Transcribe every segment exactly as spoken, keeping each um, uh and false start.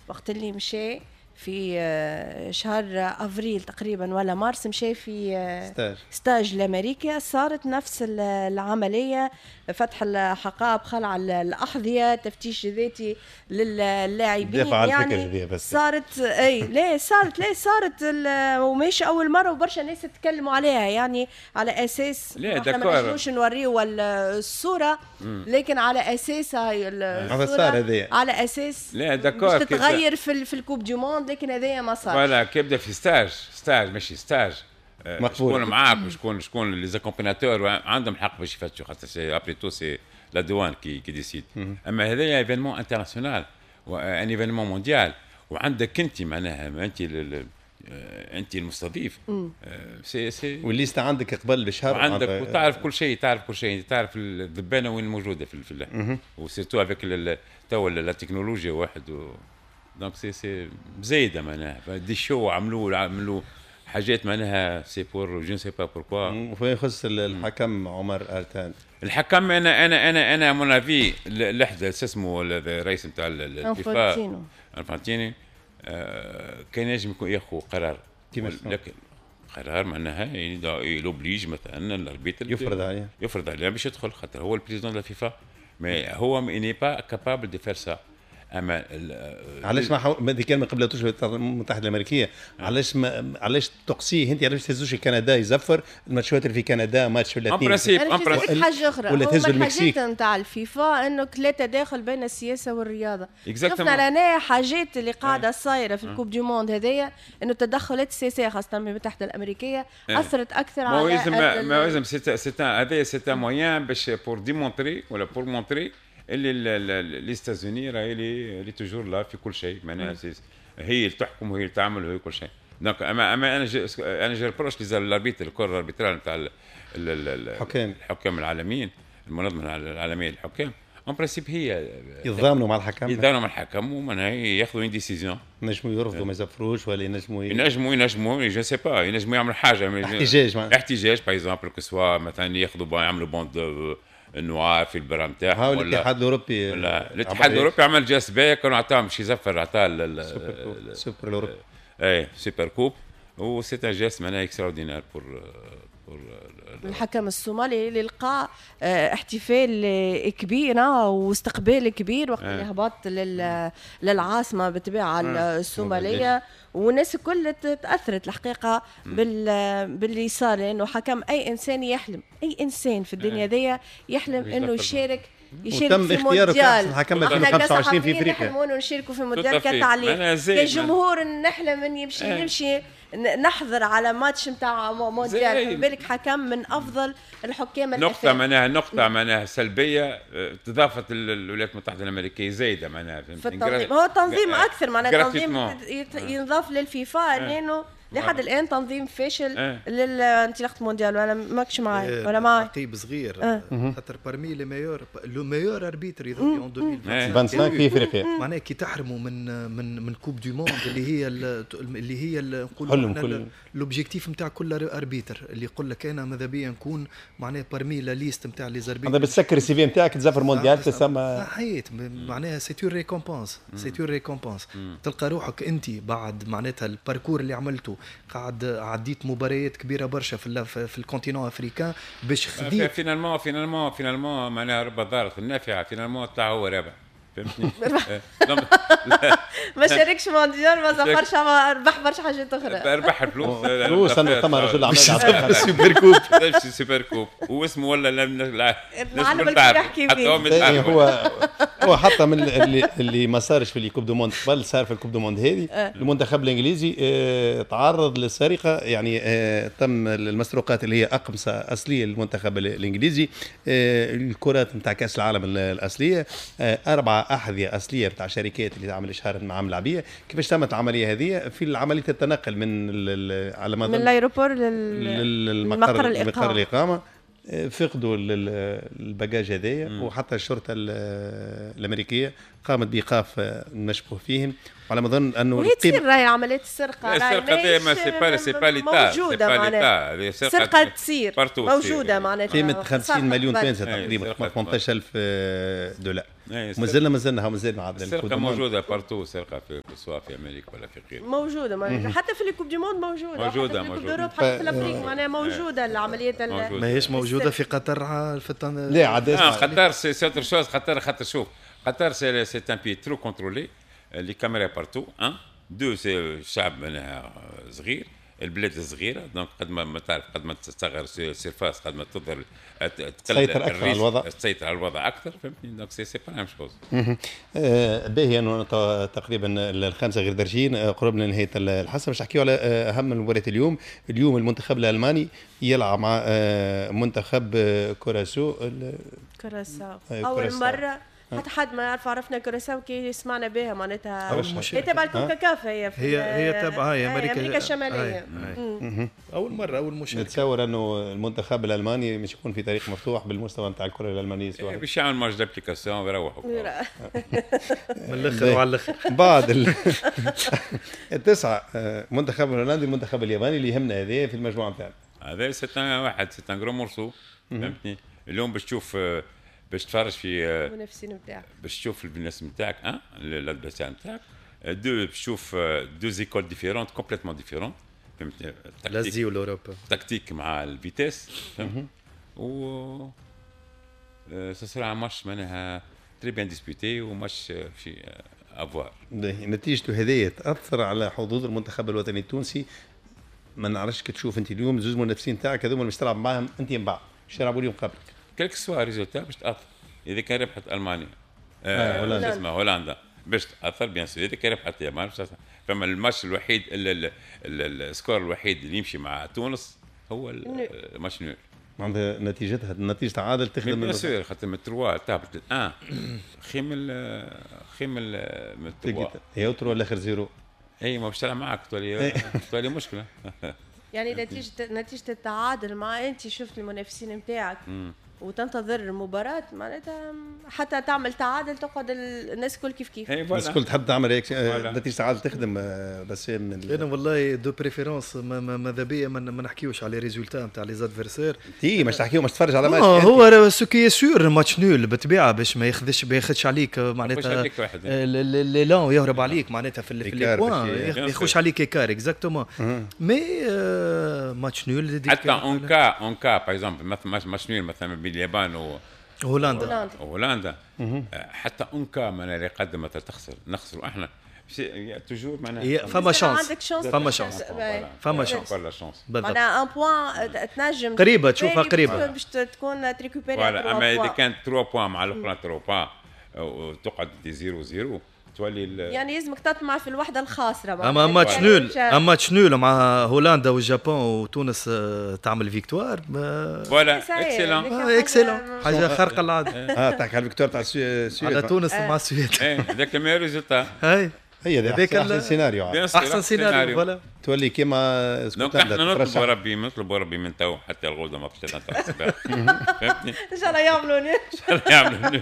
وقت اللي مشى في آه، شهر افريل تقريبا ولا مارس، مشى في آه، stage stage لامريكا، صارت نفس العمليه، فتح الحقائب، خلع الاحذيه، تفتيش ذاتي للاعبين. يعني بس صارت، اي لا صارت، لا صارت، ومش اول مره، وبرشا ناس تكلموا عليها، يعني على اساس لا احنا ما نجموش نوريو الصوره، لكن على اساس هاي الصوره، على اساس لا d'accord. تتغير في في ال coupe du monde، لكن هذايا ما صار. voilà، كي يبدا في stage، stage ماشي stage مقبول. شكون معاك وشكون شكون les accompagnateurs عندهم حق باش يفتشوا، خاطر c'est après tout c'est la douane qui qui décide. اما هذايا événement international، un événement mondial، وعندك انت معناها انت انت المستضيف، c'est c'est وال liste عندك قبل بشهر. عندك وتعرف كل شيء، تعرف كل شيء، تعرف الذبانه وين موجودة في في و surtout avec توا la technologie واحد و donc c'est c'est زايدة معناها des shows، عملوا عملوا حاجات معناها c'est pour je ne sais pas pourquoi. وفيما يخص الحكم عمر ارتان؟ الحكم، انا انا انا انا à mon avis لحظه، اسمه الرئيس نتاع الفيفا انفانتيني آه كان ينجم يكون ياخذ قرار. لكن قرار معناها il oblige مثلا l'arbitre يفرض عليه. يفرض عليه باش يدخل، خاطر هو ال président de la FIFA، mais هو n'est pas capable de faire ça. اما علاش ما حو... ما كان ما قبلتوش الولايات المتحدة الامريكيه، علاش ما علاش تقصيه انت؟ علاش تهزوش كندا يزفر الماتشات اللي في كندا، ماتش ولا اثنين؟ en principe حاجة اخرى ولا تهزوا المكسيك. نتاع الفيفا انه لا تداخل بين السياسة والرياضه. شفنا لنا حاجات اللي قاعدة صايرة في ال coupe du monde هذايا، انه التدخلات السياسية خاصة من المتحدة الامريكية اثرت اكثر على ما لازم c'est هذايا c'est un moyen باش pour démontrer ولا pour montrer اللي les États-Unis راهي اللي toujours là في كل شيء، معناها هي اللي تحكم وهي اللي تعمل وهي كل شيء. donc اما اما انا je انا je reproche les arbitres، ال corps arbitral نتاع الحكام. الحكام العالميين، المنظمة العالمية للحكام، en principe هي يتضامنوا مع الحكم. يتضامنوا مع الحكم ومعناها ياخذوا une décision. ينجموا يرفضوا ما يزفروش ولا ينجموا ينجموا ينجموا je sais pas، ينجموا يعملوا حاجه. احتجاج. احتجاج par exemple، que ce soit مثلا ياخذوا يعملوا bande noire في ال bras نتاعهم. الاتحاد الاوروبي. ولا الاتحاد الاوروبي عمل geste باهي، كانوا عطاهم شي زفر، عطاه السوبر الاوروبي. اي super coupe، و c'est un geste معناها extraordinaire pour pour الحكم الصومالي اللي لقى آه، احتفال كبير واستقبال كبير وقت اللي هبط للعاصمه بالطبيعة الصوماليه، والناس الكل تاثرت الحقيقة بال باللي صار، لانه حكم اي انسان يحلم، اي انسان في الدنيا ذي يحلم انه يشارك يشارك وتم في اختياره مونديال. كأحسن حكم ألفين وخمسة وعشرين في افريقيا. نحلموا انه نشاركوا في مونديال كتعليق، كجمهور نحلم ان يمشي إيه. نمشي نحضر على ماتش نتاع مونديال، بالك حكم من افضل الحكام. نقطة معناها نقطة معناها سلبية آه، تضافت الولايات المتحدة الأمريكية زايدة معناها. في التنظيم، هو تنظيم أكثر معناها تنظيم ينضاف للفيفا، لأنه لحد الان تنظيم فاشل اه. للانطلاقه المونديال، ولا ماكش معي إيه، ولا معي؟ تعقيب صغير اه. خاطر parmi les meilleurs، le meilleur arbitre يظهر en ألفين وخمسة وعشرين في افريقيا. معناها كي تحرموا من من من coupe du monde اللي هي اللي هي نقولوا l'objectif نتاع كل arbitre اللي يقول لك انا ماذا بيا نكون معناها parmi la liste نتاع les arbitres. هذا بتسكر ال CV نتاعك، تزفر مونديال تسمى. صحيت، معناها c'est une récompense، c'est une récompense. تلقى روحك انت بعد معناتها ال parcours اللي عملته، قاعد عديت مباريات كبيرة برشا في في ال continent africain باش خديت finalement finalement finalement معناها رب ضارة النافعه، finalement طلع هو رابح، فهمتني؟ ما شاركش مونديال، ما زفرش، ربح برشا حاجات اخرى. ربح الفلوس. فلوس، ثم رجل اعمال. super coupe، super coupe، واسمه ولا العالم الكل يحكي فيه. هو هو حتى من اللي اللي ما صارش في ال coupes du monde قبل صار في ال coupe du monde هذه. آه. المنتخب الانجليزي آه، تعرض للسرقه، يعني آه، تم المسروقات اللي هي اقمصة اصلية للمنتخب الانجليزي، الكرات نتاع كاس العالم الاصليه، اربعة احذية اصلية نتاع شركات اللي تعمل اشهار مع ملاعبيه. كيفاش تمت العملية هذه؟ في عملية التنقل من على ما من l'aéroport للمقر الاقامه الاقامه فقدوا ال bagage هذايا، وحتى الشرطة الامريكية قامت بايقاف المشبوه فيهم. على ما اظن انه وهي تصير راهي عمليات السرقة، السرقة ما c'est pas c'est pas l'État، موجودة معناها السرقة تصير موجودة معناتها قيمة خمسين مليون تونسي تقريبا ثمانية عشر ألف دولار. مازلنا مازلنا مازلنا عاد السرقة موجودة partout، السرقة في سواء في امريكا ولا في غيره موجودة معناتها، حتى في ال Coupe du monde موجودة موجودة موجودة حتى في l'Afrique معناها موجودة العمليات. ماهيش موجودة في قطر في التن... لا عاد قطر c'est autre chose. قطر خاطر شوف قطر c'est un pays trop contrôlé، les caméras partout، un deux c'est الشعب معناها صغير، البلاد صغيرة، donc قد ما تعرف قد ما تصغر surface قد ما تظهر تسيطر اكثر على الوضع، تسيطر على الوضع اكثر، فهمتني؟ donc c'est c'est pas la même chose. باهي انه تقريبا الخمسة غير درجين قربنا لنهاية الحصة باش نحكيو على اهم المباريات اليوم. اليوم المنتخب الالماني يلعب مع منتخب كوراسو. كوراساو اول مرة حتى حد ما يعرف، عرفنا كوراساو كي سمعنا بها معناتها هي تبع الكونكاكاف، هي هي هي تبع هي امريكا امريكا الشمالية. اول مرة اول مشاركة. نتصور انه المنتخب الالماني مش يكون في طريق مفتوح بالمستوى نتاع الكره الالمانية، سواء باش يعمل match d'application ويروحوا من الاخر وعلى الاخر. بعد التسعة منتخب الهولندي المنتخب الياباني اللي يهمنا هذا في المجموعة نتاعنا. هذا c'est واحد c'est un gros morceau، فهمتني؟ اليوم باش تشوف باش تفرج في المنافسين نتاعك، باش تشوف الناس نتاعك un l'adversaire نتاعك، deux باش تشوف deux écoles différentes complètement différentes، فهمتني؟ l'Asie و l'Europe، tactique مع ال vitesse، فهمت؟ و ça sera match معناها très bien disputé و match في à voir. نتيجته هذه تاثر على حظوظ المنتخب الوطني التونسي. ما نعرفش كي تشوف انت اليوم زوج منافسين تاعك هذوما مش تلعب معاهم انت من بعد، باش يلعبوا اليوم قبلك. quel que soit résultat باش تاثر. اذا كان ربحت المانيا آه هولندا اسمها هولندا باش تاثر bien sûr. اذا كان ربحت اليابان باش تاثر. فما الماتش الوحيد ال score الوحيد اللي يمشي مع تونس هو ال match nul. معناتها نتيجتها نتيجة تعادل تخدم bien sûr، خاطر من ثلاثة تهبط واحد خير من خير من ثلاثة هي trois الاخر zéro. اي ما باش تلعب معاك تولي تولي مشكلة. يعني نتيجة نتيجة التعادل مع انت شفت المنافسين نتاعك وتنتظر المباراة معناتها حتى تعمل تعادل تقعد الناس الكل كيف كيف. الناس الكل تحب تعمل هيك نتيجة تعادل تخدم. بس من انا والله de préférence ماذا بيا ما نحكيوش على résultats نتاع les adversaires. تي مش تحكيو مش تتفرج على ماتش. هو ce qui est sûr match nul بالطبيعة باش ما ياخذش ما ياخذش عليك معناتها l'élan يهرب عليك معناتها في les points ياخذش عليك écart exactement. mais match nul حتى en cas en cas par exemple match nul مثلا بين اليابان و هولندا هولندا حتى en cas معناها اللي قدم مثلا تخسر نخسروا احنا toujours معناها فما chance فما chance فما chance معناها un point تنجم قريبه تشوفها قريبه باش تكون ت récupérer. اما اذا كانت ثلاثة points مع الاخرى ثلاثة points وتقعد zéro zéro تولي يعني لازمك تطمع في الوحدة الخاسرة. اما match nul اما match nul مع هولندا واليابان وتونس تعمل victoire voilà excellent excellent حاجة خارقة للعادة. اه تحكي على ال victoire تاع السويد على تونس مع السويد. ايه هذاك ال meilleur résultat. هاي هي هذاك احسن سيناريو احسن سيناريو voilà تولي كيما اسكتلندا. احنا نطلبوا ربي نطلبوا ربي من تو حتى الغدوه ما فيش تاع الصباح، فهمتني؟ ان شاء الله يعملوا ان شاء الله يعملوا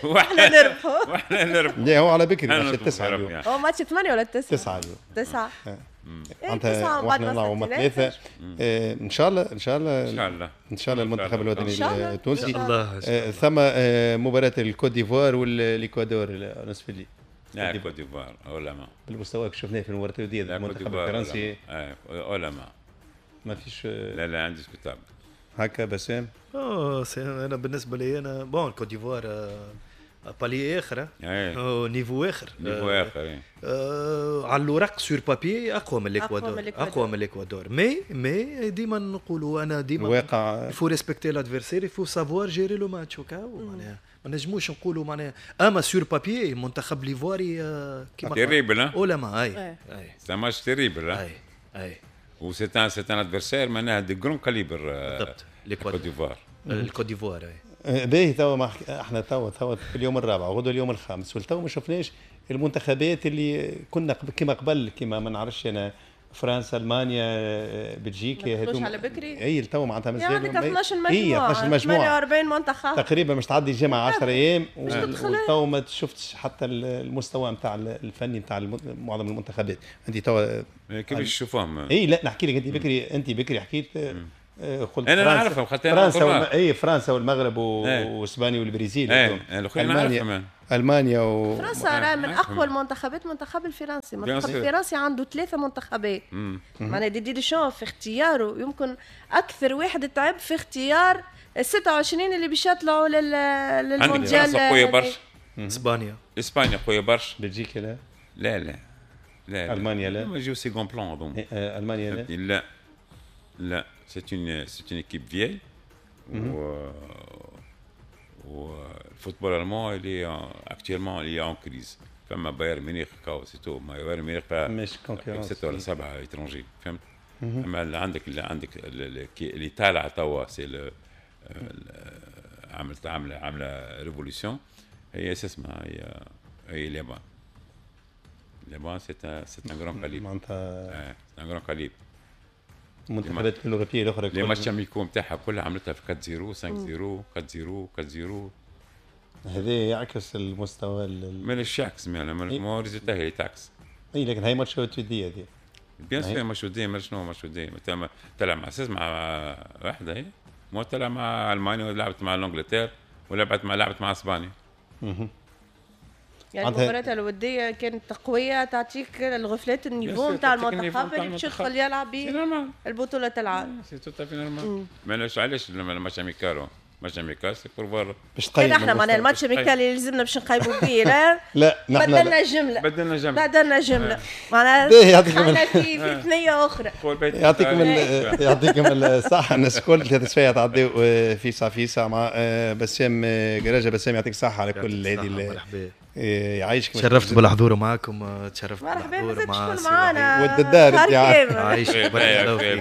واحنا نربحوا واحنا نربحوا. لا هو على بكري ماتش التسعة اليوم. هو ماتش ثمانية ولا تسعة؟ تسعة اليوم. تسعة معناتها واحنا نلعبوا ثلاثة ان شاء الله ان شاء الله ان شاء الله ان شاء الله المنتخب الوطني التونسي. ان شاء الله. ثم مباراة الكوت ديفوار والاكوادور نصف الليل. لا كوت ديفوار ولا ما بالمستوى اللي شفناه في المباراة الودية المنتخب الفرنسي ولا ما ما فيش. لا لا indiscutable هكا بسام. اه انا بالنسبة لي انا bon كوت ديفوار palier اخر niveau اخر niveau اخر على الورق sur papier اقوى من الاكوادور اقوى من الاكوادور mais mais ديما نقولوا انا ديما الواقع faut respecter l'adversaire faut savoir gérer le match وكا معناها ما نجموش نقولوا معناها اما sur papier منتخب ليفواري كيما terrible ولا ما اي c'est match terrible اي اي و c'est un c'est un adversaire معناها de grand calibre بالضبط الكوت ديفوار الكوت ديفوار اي باهي. توا ما احنا توا توا في اليوم الرابع وغدوه اليوم الخامس والتو ما شفناش المنتخبات اللي كنا كما قبل كما ما نعرفش انا فرنسا، المانيا، بلجيكا، هذوما على بكري. اي تو معناتها مازال عندك اثناش مجموعة، اثناش مجموعة، ثمانية وأربعين منتخب تقريبا، مش تعدي جمعه عشرة ايام وتو ما شفتش حتى المستوى نتاع الفني نتاع معظم المنتخبات. انت تو كيفاش تشوفهم؟ اي لا نحكي لك، انت بكري انت بكري حكيت قلت انا نعرفهم خاطر فرنسا والم... اي فرنسا والمغرب واسبانيا والبرازيل، المانيا المانيا و فرنسا راه من اقوى المنتخبات. المنتخب الفرنسي، المنتخب الفرنسي عنده ثلاثة منتخبات، معناها ديدي ديشان في اختياره يمكن اكثر واحد تعب في اختيار ال ستة وعشرين اللي باش يطلعوا لل... للمونديال. فرنسا قوية برشا، اسبانيا اسبانيا قوية برشا، بلجيكا لا لا لا لا، المانيا لا، ما يجيو second plan هذوما. المانيا لا لا لا، c'est une c'est une équipe vieille و وال football allemand اللي actuellement اللي en crise. فما بايرن ميونخ كاو c'est tout، بايرن ميونخ مش concurrence ستة ولا سبعة étrangers، فهمت؟ اما اللي عندك اللي عندك اللي طالعه توا c'est عملت عامله عامله révolution، هي اسمها هي هي اليابان. اليابان c'est c'est un grand calibre، معناتها c'est un grand calibre. المنتخبات الاوروبية الاخرى les matchs amicaux نتاعها كلها عملتها في أربعة صفر خمسة صفر أربعة صفر أربعة صفر. هذا يعكس المستوى. مالاش يعكس، ما résultat هي تعكس. اي لكن هي ماتش وديه هذه. bien sûr ماتش وديه، ما شنو ماتش وديه؟ تلعب مع اساس مع واحدة، هي مو تلعب مع المانيا ولعبت مع l'Angleterre ولعبت مع لعبت مع اسبانيا. يعني المباريات الودية كانت قوية، تعطيك الغفلات ال niveau نتاع المنتخب اللي باش يدخل يلعب به البطولة العالم. c'est tout à fait normal. مالاش علاش ال match amical، match amical c'est pour voir باش تقيم. احنا معناها ال match amical اللي لازمنا باش نقيموا به. لا لا نحن بدلنا جملة، بدلنا جملة، بدلنا جملة معناها يعطيكم في في ثنيه اخرى. يعطيكم يعطيكم الصحة الناس الكل. ثلاث سوايع تعديو في ساعة في ساعة مع بسام قراجه. بسام يعطيك الصحة على كل هذه، يعيشك. تشرفت بالحضور معاكم، تشرفت بالحضور مع معنا ود الدار. عايشك،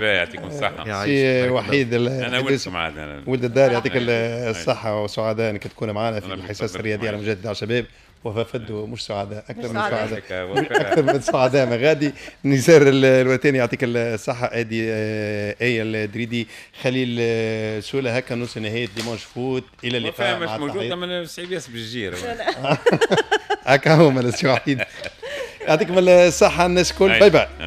يعطيكم الصحة سي وحيد. انا ولدكم عاد، ولد الدار، يعطيك الصحة وسعداء انك تكون معنا في الحصص الرياضية على مجدد على شباب. وفا فدو مش سعداء، اكثر من سعداء، اكثر من سعداء مغادي. نزار الوتاني يعطيك الصحة. ادي ايه الدريدي، خليل سوله. هكا نوصل نهاية Dimanche Foot. الى اللقاء. مش موجود من صعيب ياسر بالجير هكا هو مال وحيد. يعطيكم الصحة الناس الكل. bye bye.